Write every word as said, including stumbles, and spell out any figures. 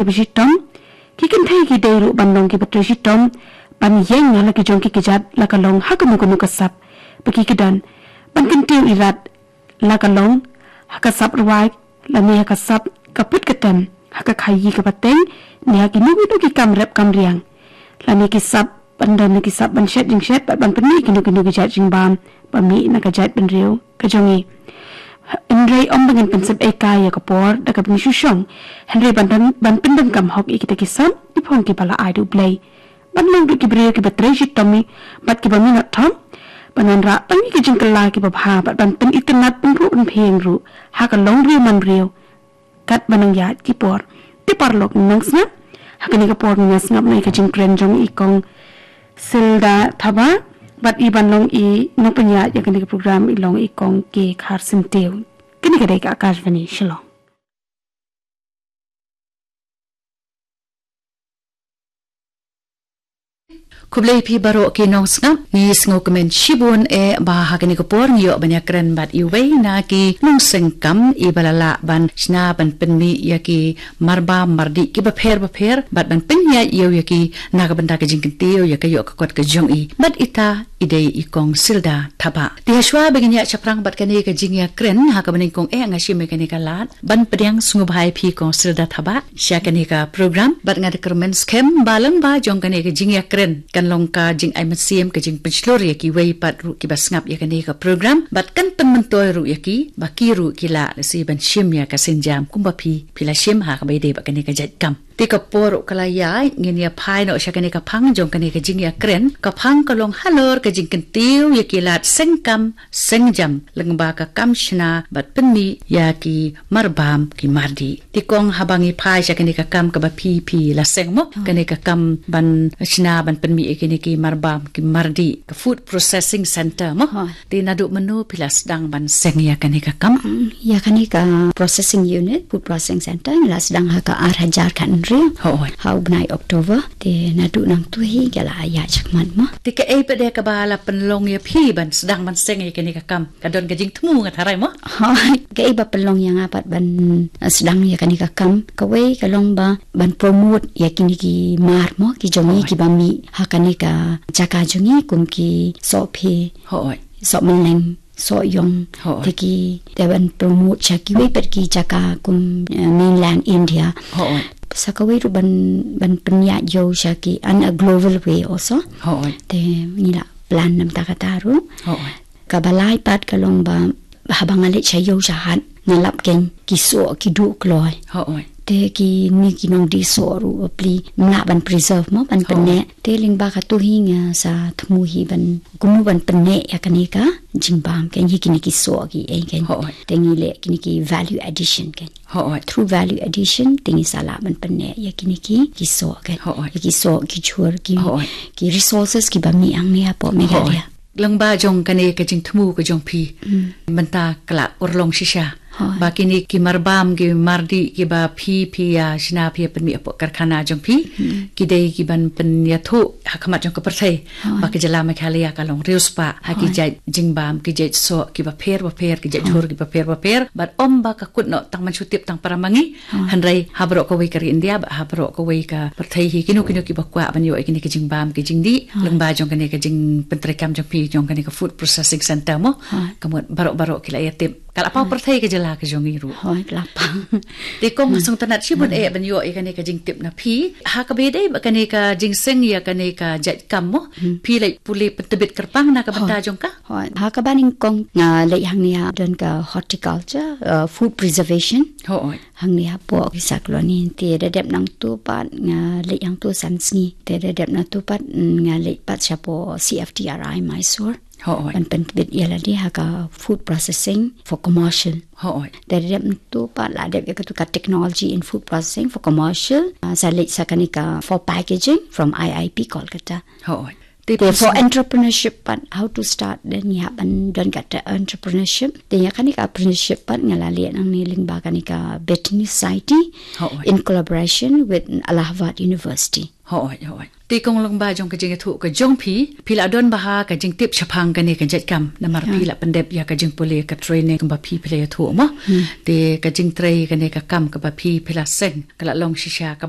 Ba shitom, ki kynthei ki dei ruh ban long kiba trei shitom ban ïeng ha la ki jong ki kjat, la ka long ha kano kano ka sap ba ki kydan, ban kyntiew irat la ka long ha ka sap rwai, lane ha ka sap ka put ka tem, ha ka khaïi ka pateng, ne ha kino kino ki kam rep kam riang, lane ki sap ban don ne ki sap ban shet jingshet bad ban pynmih kino kino ki jait jingbam ba mih na ka jaitbynriew ka jong ngi. Hynrei ym ba ngin pynsep ei kai ïa ka por da kaba ngi shu shong, hynrei ban don, ban pyndonkam hok ïa kita ki sap, ki phong kiba la ai da U Blei, ban long ruh ki briew kiba trei shitom bad kiba minot thom, ban wanrah tang ïa ki jingkylla kiba bha bad ban pynitynnad pynruh pynphieng ruh ha ka longbriew manbriew, kat ba nang ïaid ki por. Te paralok nang sngap, ha kane ka por ngi ïa sngap na ïa ka jingkren jong i Kong Silda Thabah, bad i ban long i nongpynïaid ïa kane ka program i long i Kong K Kharsyntiew. Kane ka dei ka Akashvani Shillong. Khublei phi baroh ki nongsngap, ngi sngewkmen shibun eh ba ha kane ka por ngi ïoh ban ïakren bad iwei na ki nongseng kam iba la lah ban shna ban pynmih ïa ki marbam mardih kiba pher bapher bad ban pynïaid ïew ïa ki na ka bynta ka jingkyntiew ïa ka ïoh ka kot ka jong i. Bad ita i dei i Kong Silda Thabah. Te hashwa ba ngin ïa shaphrang bad kane ka jingïakren ha kaba nyngkong eh nga shim ïa kane ka lad ban pdiang sngewbha ïa phi Kong Silda Thabah sha kane ka program, bad nga da kyrmen skhem ba lyngba jong kane ka jingïakren kan long ka jingai mynsiem, ka jingpynshlur ïa kiwei pat ruh kiba sngap ïa kane ka program, bad kan pynmyntoi ruh ïa ki ba ki ruh ki lah lehse ban shim ïa ka sienjam kumba phi, phi la shim ha kaba ïadei bad kane ka jait kam. Te ka por ruh ka la ïaid, ngin ïa phai noh sha kane ka phang jong kane ka jingïakren. Ka phang ka long halor ka jingkyntiew ïa ki lad seng kam seng jam lyngba ka kam shna bad pynmih ïa ki marbam ki mardih. Te Kong, haba ngi phai sha kane ka kam kaba phi, phi la seng mo, kane ka kam ban shna ban pynmih ïa kine ki marbam ki mardih, ka food processing center mo. Te naduh mynno phi la sdang ban seng ïa kane ka kam? Mm, ïa kane ka processing unit, food processing center, ngi la sdang ha ka ar hajar khathynriew. Hooid. Ha u bnai October. Te naduh nangtu hi ka la ïaid shakhmat mo. Te kaei pat de kaba la pynlong ïa phi ban sdang ban seng ïa kane ka kam? Ka don ka jingthmu nga tharai mo? Hooid. Kaei ba pynlong ïa nga pat ban, eh, sdang ïa kane ka kam? Kawei ka long ba ban promote ïa kine ki mar mo, ki jong ngi kiba mih ha kane ka jaka jong ngi kum ki sohphe, sohmylleng, sohïong, te ki, te ban promote sha kiwei pat ki jaka kum, eh, mainland India. Sa kawei ruh ban, ban pynïaid ïew sha ki on a global way also. Te ngi la plan namar kata ruh. Kaba lai pat ka long ba haba nga leit sha ïew sha hat nga lap kein ki soh ki duh kloi. Te kine ki nongdie soh ruh bapli ym lah ban preserve mo, ban pynneh. Te lyngba katu hi nga sa thmu hi ban kumno ban pynneh ïa kane ka jingbam kein, ïa kine ki soh ki ei kein. Te ngi leh kine ki value addition kein. Through value addition te ngi sa lah ban pynneh ïa kine ki, ki soh kein. Ïa ki soh, ki jhur, ki, ki resources kiba mih hangne hapoh Meghalaya. Lyngba jong kane ka jingthmu ka jong phi, mynta ka la urlong shisha ba kine ki marbam ki mardih kiba phi, phi ïa shna phi ïa pynmih hapoh karkhana jong phi, ki dei ki ban pynïathuh ha khmat jong ka pyrthei ba ka jylla Meghalaya ka long riewspah ha ki jait jingbam, ki jait soh kiba pher bapher, ki jait jhur kiba pher bapher, bad ym ba ka kut noh tang mynshuwa tip tang para ma ngi, hynrei ha baroh kawei ka ri India bad ha baroh kawei ka pyrthei hi, kino kino kiba kwah ban ïoh ïa kine ki jingbam ki jingdih lyngba jong kane ka jingpyntreikam jong phi, jong kane ka food processing center mo. Ka mut baroh baroh ki la ïa tip, ka la paw pyrthei ka jylla ka jong ngi ruh. Te Kong, sngewtynnat shibun eh ban ïoh ïa kane ka jingtip na phi ha kaba ïadei bad kane ka jingseng ïa kane ka jait kam mo. Phi leit pule pyntbit kyrpang na ka bynta jong ka? Ha kaba nyngkong nga leit hangne ha don ka horticulture, uh, food preservation. Hangne hapoh Kisa Colony, te da dep nangtu pat nga leit hangtu san sngi. Te da dep nangtu pat, mm, nga leit pat shapoh C F T R I Mysore. Ban pyntbit ïa lade ha ka food processing for commercial. Te da dep nangtu pat la dep ïa katu ka technology in food processing for commercial. Ah, sa leit sa kane ka for packaging from I I P Kolkata. Te Te for entrepreneurship pat, how to start, then ngi hap ban don kata entrepreneurship. Te ïa kane ka entrepreneurship pat nga la leh nangne lyngba kane ka Bethany Society Hooid. In collaboration with Allahabad University. Hooid, hooid. Te kong lyngba jong ka jingïathuh ka jong phi, phi la don bha ka jingtip shaphang kane ka jait kam. Namar phi la pyndep ïa ka jingpule ka training kaba phi phi la ïathuh mo. Te ka jingtrei kane ka kam kaba phi phi la seng, ka la long shisha kaba